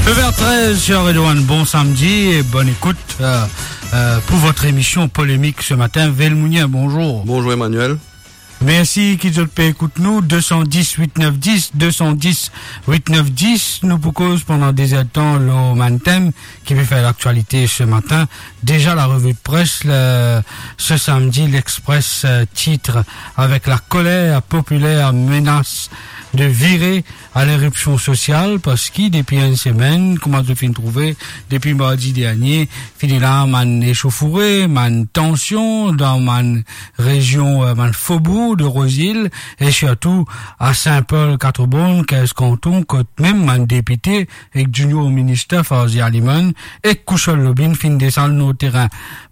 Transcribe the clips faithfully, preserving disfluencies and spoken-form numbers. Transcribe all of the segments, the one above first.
Neuf heures treize sur Radio One, bon samedi et bonne écoute, euh, euh, pour votre émission polémique ce matin. Velmounien, bonjour. Bonjour Emmanuel. Mersi ki zot pe ekout nou, deux cent dix huit neuf dix, deux cent dix huit neuf dix. Nou pou koz pandan de zertan lor bann tem ki pe fer laktialite se matin. Deza la revi de pres, le, se samedi, L'Express, euh, titre avec la colère populaire menace de virer à l'éruption sociale, parski depi enn semenn, kouma zot finn trouve, depi mardi dernie, finn ena bann esofoure, bann tansion dan bann rezion, euh, bann fobour de Rosil, e sirtou a Saint-Paul, Quatre-Bornes, kinz kanton, kot mem bann depite ek Junior Minister Farzee Aliman ek Koushal Lobine finn desann lor terin.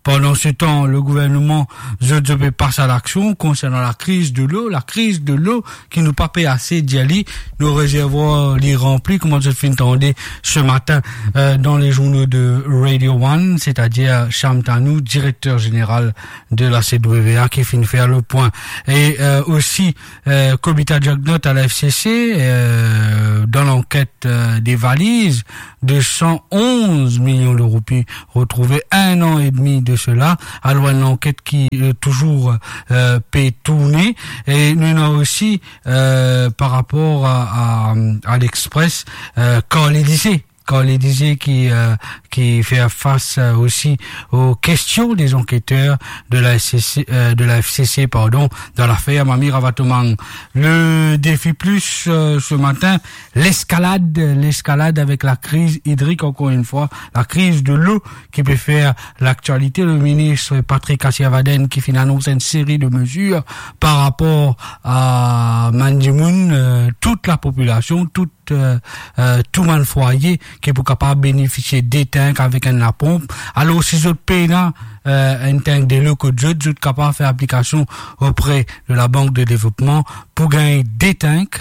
Pandan se tan, le gouvernman, zot, zot pe pas a laksion konsernan lakriz delo, lakriz delo ki nou pa pe ase dir li, nou rezervwar li ranpli, kouma zot finn tande se matin, euh, dan le zournal de Radio One, setadir Sham Tanou, direkter zeneral de la C W A, ki finn fer le pwin. E, euh, osi, euh, Kobita Jugnauth a la F C C, euh, dan lanket, euh, de valiz de cent onze milion de roupi retrouve enn an edmi de sela, alor enn lanket ki, euh, touzour, euh, pe tourne. E nou ena osi, euh, par rapor a, a, a L'Express, euh, Carl Elysée. Carl Elysée ki, euh, ki fer fas, euh, osi aux questions des enquêteurs de la S C C, euh, de la F C C, pardon, dan lafer Mami Ravalomanana. Le Défi Plus, euh, se matin, leskalad, leskalad avek lakriz idrik, ankor enn fwa, lakriz delo ki pe fer laktialite. Le minis Patrick Asirvadene ki finn anons enn seri de mezir par rapor a bann dimoun, euh, tout lapopilasion, tout, euh, euh, tou bann fwaye ki pou kapav benefisie de tank avek enn laponp. Alor, si zot pena, euh, enn tank delo kot zot, zot kapav fer aplikasion opre de la Banque de Développement pou gagn de tank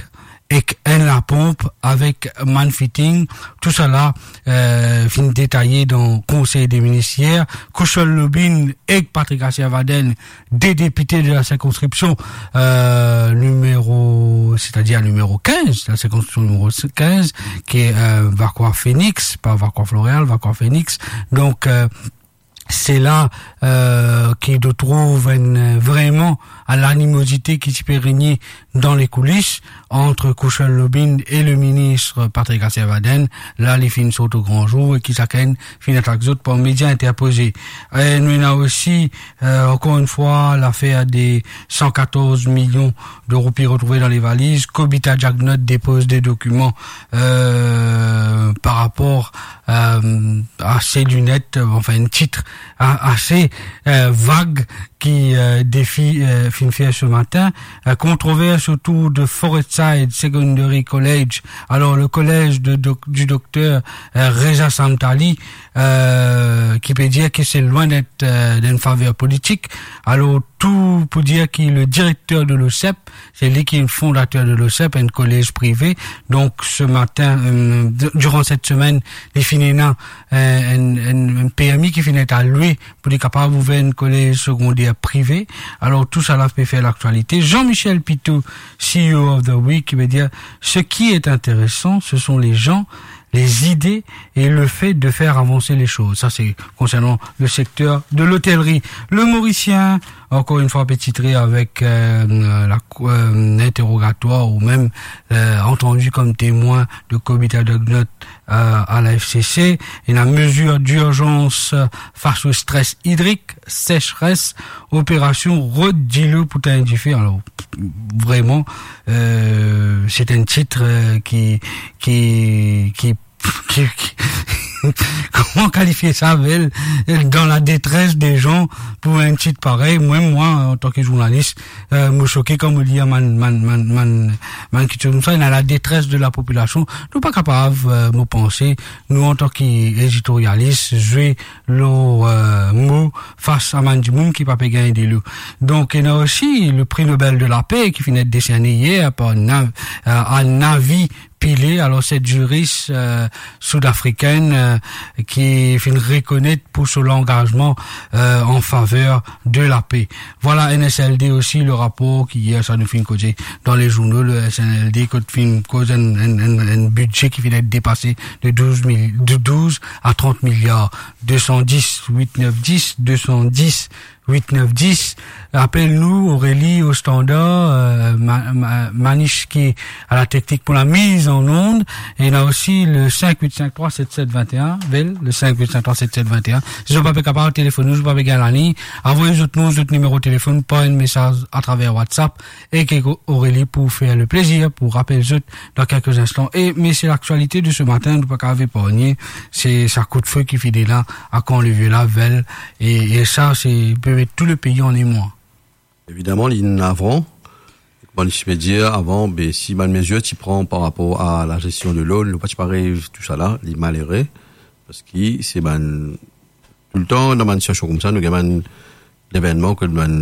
ek enn laponp avek bann fitting. Tousala, euh, finn detaye dan Konsey de Minis yer. Koushal Lobine ek Patrick Asirvadene, de depite de la sirkonskripsion, euh, nimero, setadir nimero kinz, la sirkonskripsion nimero kinz, ki, euh, Vacoas Phoenix, pa Vacoas Floréal, Vacoas Phoenix. Donk, euh, se la, euh, ki nou trouv enn, euh, vreman a lanimozite ki ti pe regne dan lekoulis ant Koushal Lobine e le minis Patrick Asirvadene. La, li finn sort o gran zour e ki sakenn finn atak zot par media interpoze. E nou ena osi, euh, ankor enn fwa, lafer de san katorz milion de roupi retrouve dan le valiz. Kobita Jugnauth depoz de dokiman, euh, par rapor, euh, a se linet, euh, anfin, enn tit a-, ase, euh, vag ki, euh, Défi, euh, finn fer se matin. Euh, kontrovers otour de Forest Side Secondary College. Alor, le kolez de doc-, du dokter, euh, Reza Samtali, euh, ki pe dir ki se lwin d'et, euh, dan enn faver politik. Alor, tou pou dir ki le direkter de l'OSEP, se li ki fondater de l'OSEP, enn kolez prive. Donk, se matin, euh, d-, diran set semenn, li finn ena, euh, enn, enn, enn permi ki finn et alwe pou li kapav ouver enn kolez segonder prive. Alor, tousala pe fer laktialite. Jean-Michel Pitou, C E O of the Week, ki pe dir, ce qui est intéressant, ce sont les gens, les idées et le fait de faire avancer les choses. Sa, se konsernan le sekter de lotelri. Le Morisien, ankor enn fwa, pe titre avek, euh, la, euh, interrogatoire ou mem, euh, entendu comme témoin de Kobita Jugnauth, euh, a la F C C. Ena mezir d'urjans fas o stres idrik, secheres, operasion rod dilo pou tegn dife. Alor, vreman, euh, se enn tit, euh, ki, ki, ki, ki, ki, kouma kalifie sa, bel, dan la detres de zan pou enn tit parey. Mwa, mwa, antan ki zournalis, euh, mo soke kan mo lir bann, bann, bann, bann, bann kiksoz koumsa, dan la detres de lapopilasion. Nou pa kapav, euh, mo panse, nou antan ki editorialis, zwe lor, euh, mo fas a bann dimoun ki pa pe gagn delo. Donk, ena osi le Prix Nobel de la Paix ki finn et deserne yer par Na-, euh, a Navi Pillay, alor se ziris, euh, sud-africaine, euh, ki finn rekonet pou so langazman, euh, an faver de lape. Vwala, N S L D osi, le rapor ki yer sa nou finn koze dan le zourno, le N S L D, kot finn koz enn, enn, enn, enn bidze ki finn et depase de douz mil, de douz a trant miliar, de san dis, wit, nef, dis, de san dis, wit, nef, dis. Apel nou, Aurélie, au standard, euh, Ma-, Ma-, Manish ki a la teknik pou la miz an ond. E ena osi le sink wit sink trwa set set vin-e-enn, vel, le sink wit sink trwa set set vin-e-enn. Si zot pa pe kapav telefonn nou, zot pa pe gagn lalign, avoy zot nom, zot nimero telefonn par enn mesaz atraver WhatsApp, e ki Aurélie pou fer le plezir pou rapel zot dan kelke instan. E, me se laktialite de se matin, nou pa kapav epargne, se sa kout-fe ki fini la, a Camp-Levier la, vel, e, e sa, se, pe met tou le pei an emwa. Evidaman, li navran. Kouma li ti pe dir avan, be, si bann mezir ti pran par rapor a la zestion de lo, nou pa ti pe ariv tousala, li malere, parski se bann, toultan dan bann sitiasion koumsa, nou gagn bann levennman kot bann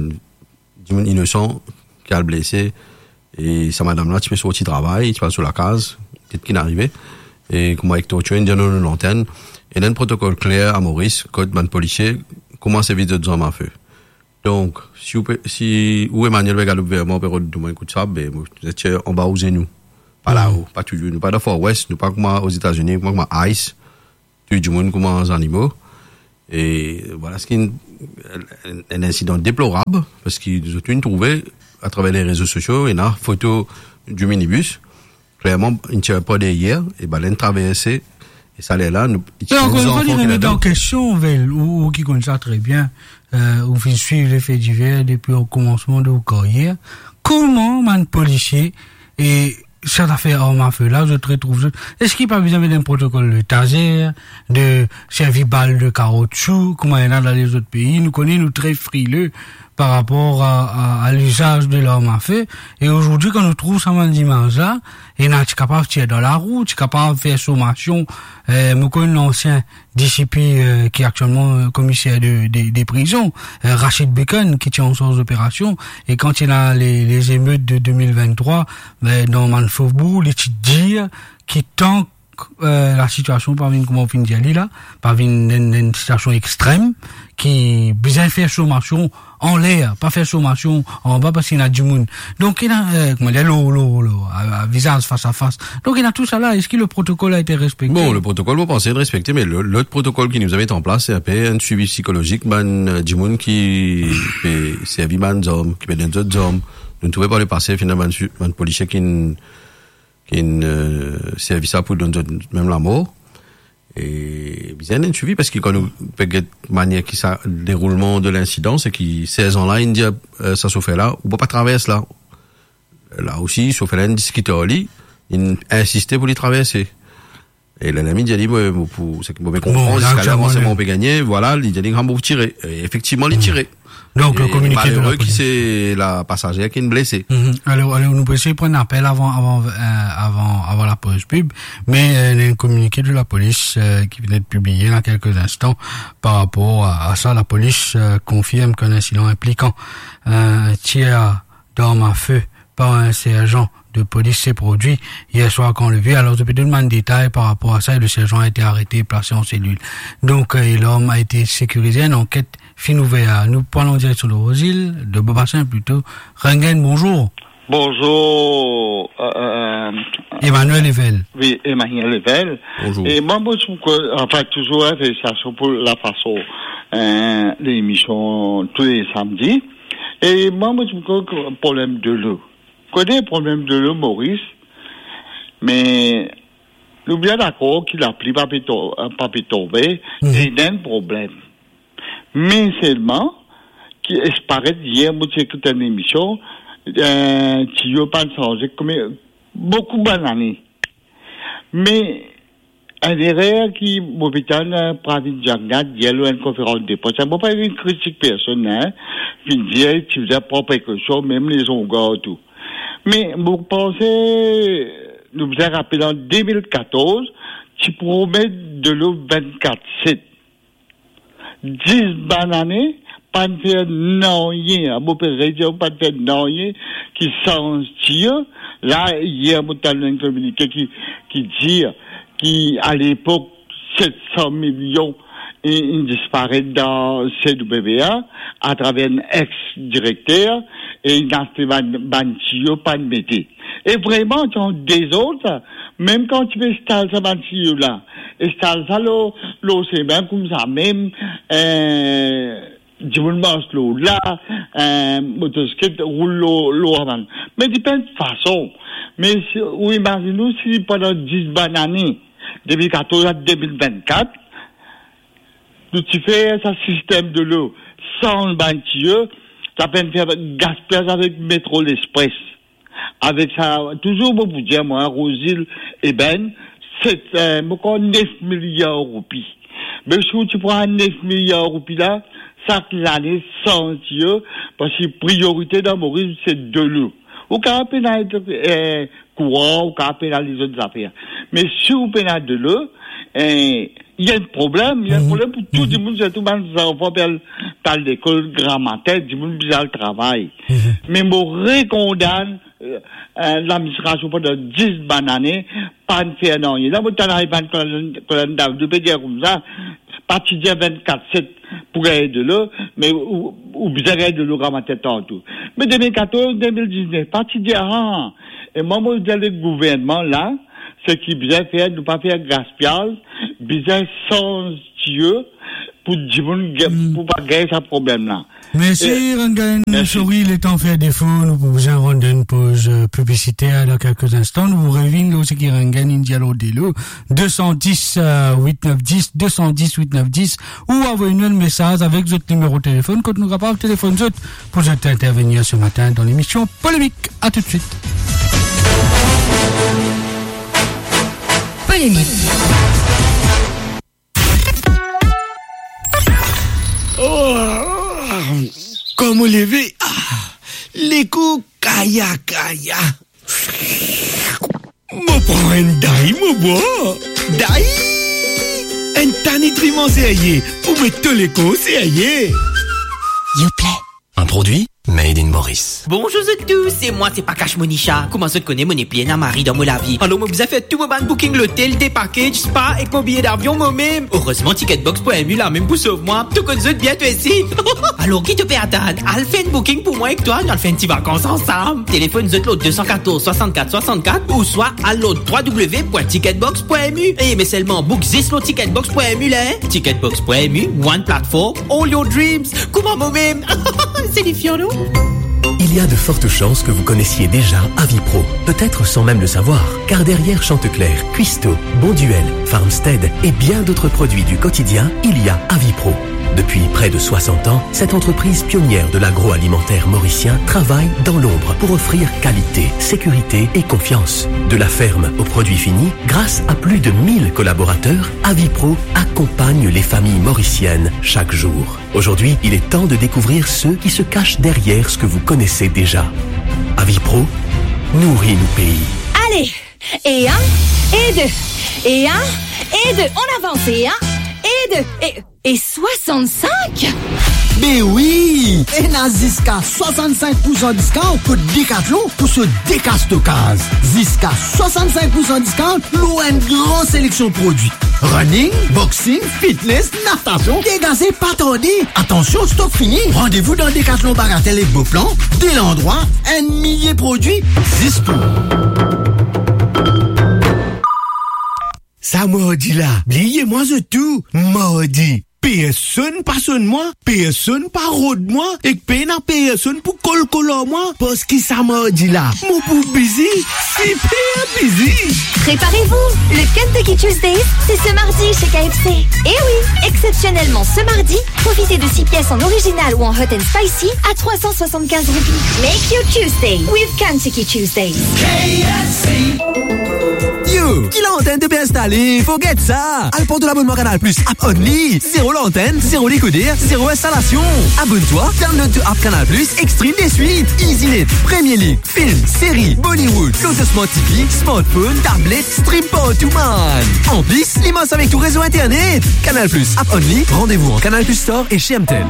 dimoun inosan ki al blese, e sa madam la ti pe sorti travay, ti pe al so lakaz, ki, ki finn arive, e kouma Hector Tchuen dir dan nou lantenn, ena enn protokol kler a Moris, kot bann polisie koumans evit zot zarm afe. Donk, si ou pe, si ou Emmanuel pe gard Gouverneman, pe rod nou enn kout sab, be, mo, zot ti anba ou zenou. Pa lao, pa touzour. Nou pa dan Far West, nou pa kouma Ozetazini, nou pa kouma ICE, touy dimoun kouma zanimo. E vwala, se enn, enn, enn insidan deplorab, parski zot inn trouve, atraver le rezo sosio, ena foto di minibis, klerman, inn tir par deryer, e bann la inn traverse, e sa ler la, nou, E ankor enn fwa, li remet an kestion, vel, ou, ou ki konn sa tre bien, euh, ou finn swiv le fe diver depi o koumansman de ou karyer. Kouma bann polisie, e sa zafer arm a fe la, zot retrouv zot, eski pa bizin met enn protokol de taser, de servi bal de kaotsou, kouma ena dan lezot pei? Nou kone nou tre frile par rapor a, a, a lizaz de larm a fe. E azordi, kan nou trouv sa bann zimaz la, ena ti kapav tir dan larou, ti kapav fer somasion. Eh, mo konn lansien D C P, eh, ki aktielman, eh, komiser de, de, de prizon, eh, Rachid Bekan, ki ti ansarz loperasion. E kan ti ena le, le zemet de de mil vinn-trwa, eh, dan bann fobour, li ti dir ki tan eh, lasitiasion pa vinn, kouma ou finn dir li la, pa vinn enn, enn sitiasion extrem, ki bizin fer somasion anler, pa fer somasion anba, parski ena dimoun. Donk, ena, eh, kouma dir, lo, lo, lo, a, a vizaz fas a fas. Donk, ena tousala, eski le protokol a ete respekte? Bon, le protokol, mo panse, ete respekte, me le, lot protokol ki nou met an plas, se enpe enn swivi psikolozik, bann, eh, dimoun ki pe servi bann zarm, ki pe donn zot zarm. Nou trouve par le pase, finn ena bann swi-, bann polisie ki ki'nn, eh, servi sa pou donn zot mem lamor. E bizin enn swivi, parski kan nou pe get manier ki sa, deroulman de linsidan, se ki serzan la inn dir, eh, sa sofer la, ou pa, pa travers la. La osi, sofer la inn diskit ar li, inn insiste pou li traverse. E lerla li dir li, mo, mo, pou, seki mo pe konpran, ziska la, aktielman, ransegnman nou pe gagne, vwala, li dir li, "Ah, mo tire." E efektivman, li tire. Donk, le kominike de la polis. E malere ki se la pasazer ki'nn blese. Mhm. Alor, alor, nou pou esey pran apel avan, avan, eh, avan, avan lapoz pib. Me, eh, ena enn kominike de lapolis, eh, ki vinn et pibliye dan kelke instan par rapor a, a sa. Lapolis, eh, konfirm ki enn insidan inplikan, eh, tir d'arm a fe par enn serzan de polis s'est produit hier soir à Camp-Levier. Alors, je peux donner un détail par rapport à ça, et le sergent a été arrêté et placé en cellule. Donc, euh, et l'homme a été sécurisé, une enquête fine ouverte. Nous prenons direction de Rosil, de Beaubassin plutôt. Rengen, bonjour. Bonjour, euh, euh, Emmanuel Evel. Oui, Emmanuel Evel. Bonjour. E mwa, mo trouv ke, anfin, touzour, hein, felisitasyon pou lafason, hein, lemision tou le samdi. E mwa, mo trouv ke problem delo. Kote problem delo Moris, me nou bien dakor ki lapli pa pe to-, pa pe tonbe, mhm, ena enn problem. Me selman, ki, e paret yer, mo ti ekout enn emision, eh, tiyo pa'nn sanze, kome boukou bann ane. Me enn erer ki mo pe tann, eh, Pravin Jagnat, yer lor enn konferans de pres, mo pa vinn kritik personn, hein, vinn dir ti bizin pran prekosion, mem lezongar tou. Me mo panse, nou bizin rapel an de mil katorz, ti promet delo vennkat set. Dis bann ane, pa'nn fer nanye, a, mo pe redir, pa'nn fer nanye ki sanz tiyo. La, yer mo tann enn kominike ki, ki dir ki alepok set san milion inn, inn disparet dan C W A atraver enn ex-direkter, e inn aste bann, bann tiyo pa'nn mete. E vreman, ti ann dezord sa. Mem kan ti pe instal sa bann tiyo la, instal sa lor, lor semin koumsa mem, eh, dimoun mars lor la, eh, motosiklet roul lor, lor sa bann. Me dipenn fason. Me si, ou imazinn ou si pandan dis bann ane, depi katorz a de mil vennkat, nou ti fer sa sistem delo san bann tiyo, sa pa'nn fer gaspiyaz avek Metro Express. Avek sa, touzour mo pou dir mwa, Rosil, eben, se, eh, mo krwar nef miliar roupi. Me si ou ti pran nef miliar roupi la, sak lane sanz tiyo, parski priyorite dan Moris se delo. Ou kapav pena, eh, kouran, ou kapav pena lezot zafer. Me si ou pena delo, eh, ena enn problem, ena enn problem pou tou dimoun, sirtou bann zanfan pe al, pe al lekol gramatin, dimoun bizin al travay. Me mo rekondann, eh, eh, ladministrasion pandan dis bann ane, pa'nn fer nanye. La, mo tann Ivan Kolan, Kolan David, nou pe dir koumsa, pa ti dir vennkat set pou gagn delo, me ou, ou bizin gagn delo gramatin tanto. Me de mil katorz, de mil diznef, pa ti dir, ah, e mwa, mo dir le gouvernman la, seki bizin fer, nou pa fer gaspiyaz, bizin sanz tiyo pou dimoun ga-, pou pa gagn sa problem la. Mersi, eh, Rangan. Mersi. Sori, letan fer defo, nou pou bizin rann enn poz, eh, piblisiter. Dan kelke instan, nou revinn lor seki Rangan inn dir lor delo. De san dis, eh, wit nef dis, de san dis, wit nef dis, ou avoy nou enn mesaz avek zot nimero telefonn, kot nou kapav telefonn zot pou zot intervenir se matin dan lemision Polemik. A toutswit. Polemik. Oh, kan mo leve, ah, lekou kaya kaya. Mo pran enn day, mo bwar. Day! Enn ta nitriman serye pou met to lekor serye. Yoplait. Un produit made in Maurice. Bonzour zot tou, se mwa, se pa Cash Monisha. Kouma zot kone, mo nepli ena mari dan mo lavi. Alor mo bizin fer tou mo bann booking lotel, day package, spa ek mo biye davion momem. Erezman Ticketbox pwin M U la mem pou sov mwa. To konn zot bien twa osi. Alor ki to pe atann? Al fer enn booking pou mwa ek twa, nou al fer enn ti vakans ansam. Telefonn zot lor de san katorz swasannkat swasannkat ouswa al lor w w w pwin ticketbox pwin m u. E me selman book zis lor ticketbox pwin m u la, hein? Ticketbox pwin m u, one platform, all your dreams. Kouma momem? Se difian, non? Il y a de fortes chances que vous connaissiez déjà Avipro, peut-être sans même le savoir, car derrière Chanteclair, Cuisto, Bonduelle, Farmstead et bien d'autres produits du quotidien, il y a Avipro. Depuis près de soixante ans, cette entreprise pionnière de l'agroalimentaire mauricien travaille dans l'ombre pour offrir qualité, sécurité et confiance. De la ferme au produit fini, grâce à plus de mille collaborateurs, Avipro accompagne les familles mauriciennes chaque jour. Aujourd'hui, il est temps de découvrir ceux qui se cachent derrière ce que vous connaissez déjà. Avipro, nourri nou pei. Allez, et un, et deux, et un, et deux. On avance, et un, et deux, et, et soixante-cinq? Be wi! Ena ziska swasann-sink pou san diskont kot Decathlon pou so deka stokaz. Ziska swasann-sink pou san diskont lor enn gran seleksion prodwi. Running, boxing, fitness, natasion, degaze pa tarde. Atansion, stok fini. Randevou dan Decathlon Bagatelle ek Beauplan, de landrwa, enn milie prodwi, zis pou ou. Sa mardi la, bliye mwa zot tou, mardi. Personn pa sonn mwa, personn pa rod mwa, ek pena personn pou kolkol ar mwa, parski sa mardi la, mo pou bizi, siper bizi. Préparez-vous, le Kentucky Tuesdays, c'est ce mardi chez K F C. Eh oui, exceptionnellement ce mardi, profitez de six pièces en original ou en hot and spicy à trois cent soixante-quinze roupies. Make your Tuesday with Kentucky Tuesdays. K F C. You Ki lantenn to pe instale? Forget sa! Al pran to labonnman Canal Plus App Only. Zero lantenn, zero dekoder, zero instalasion. Abonn twa, download to app Canal Plus, e stream deswit. Easy Net, Premier League, film, seri, Bollywood, lor to Smart T V, smartphone, tablet, stream partou, man. Anplis, li mars avek to rezo internet. Canal Plus App Only, rendez-vous en Canal Plus Store et chez M T L.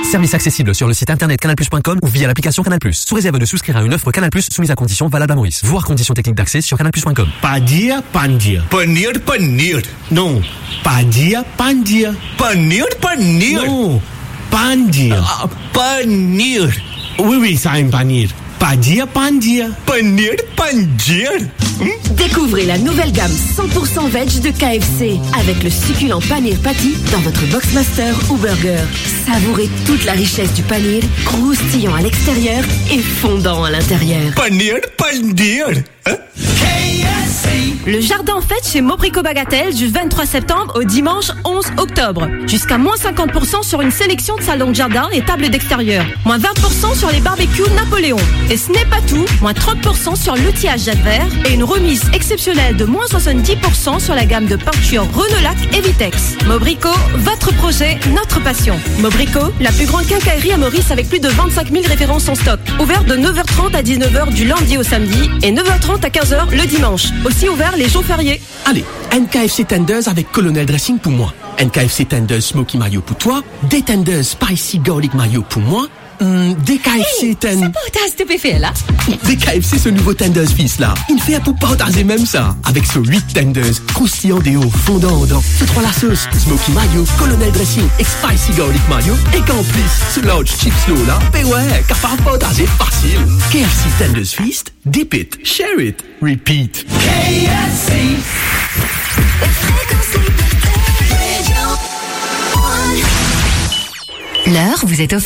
Service accessible sur le site internet canal plus point com ou via l'application Canal Plus. Sous réserve de souscrire à une offre Canal Plus soumise à conditions valables à Maurice. Voir conditions techniques d'accès sur canal plus point com. Padir, pandir. Panir, panir. Non, padir, pandir. Panir, panir. Non, pandir. Ah, panir. Oui, oui, sa enn panir. Padir, pandir. Panir, pandir. Hmm? Découvrez la nouvelle gamme cent pour cent veg de K F C avec le succulent paneer patty dans votre Boxmaster ou burger. Savourez toute la richesse du paneer, croustillant à l'extérieur et fondant à l'intérieur. Panir, panir. Hein? Le jardin en fête chez Mobrico Bagatelle du vingt-trois septembre au dimanche onze octobre. Jusqu'à moins cinquante pour cent sur une sélection de salons de jardin et tables d'extérieur. Moins vingt pour cent sur les barbecues Napoléon. Et ce n'est pas tout, moins trente pour cent sur l'outillage Jacques Vert et une remise exceptionnelle de moins soixante-dix pour cent sur la gamme de peinture Renault Lac et Vitex. Mobrico, votre projet, notre passion. Mobrico, la plus grande quincaillerie à Maurice avec plus de vingt-cinq mille références en stock. Ouvert de neuf heures trente à dix-neuf heures du lundi au samedi et neuf heures trente à quinze heures le dimanche. Aussi ouvert les jours fériés. Ale, enn K F C tenders avek Colonel Dressing pou mwa. Enn K F C tenders Smoky Mayo pou twa, de tenders Spicy Garlic Mayo pou mwa, hmm, de K F C Hey, ten- sa partaz to pe fer la? De K F C so nouvo tenders feast la. Inn fer pou partaze mem sa. Avek so wit tenders, kroustiyan deor, fondan andan. So trwa lasos, Smoky Mayo, Colonel Dressing ek Spicy Garlic Mayo, ek anplis, so large chips lor la, be wi, kapav partaze fasil. K F C tenders feast, dip it, share it, repeat. K F C. L'heure vous est offerte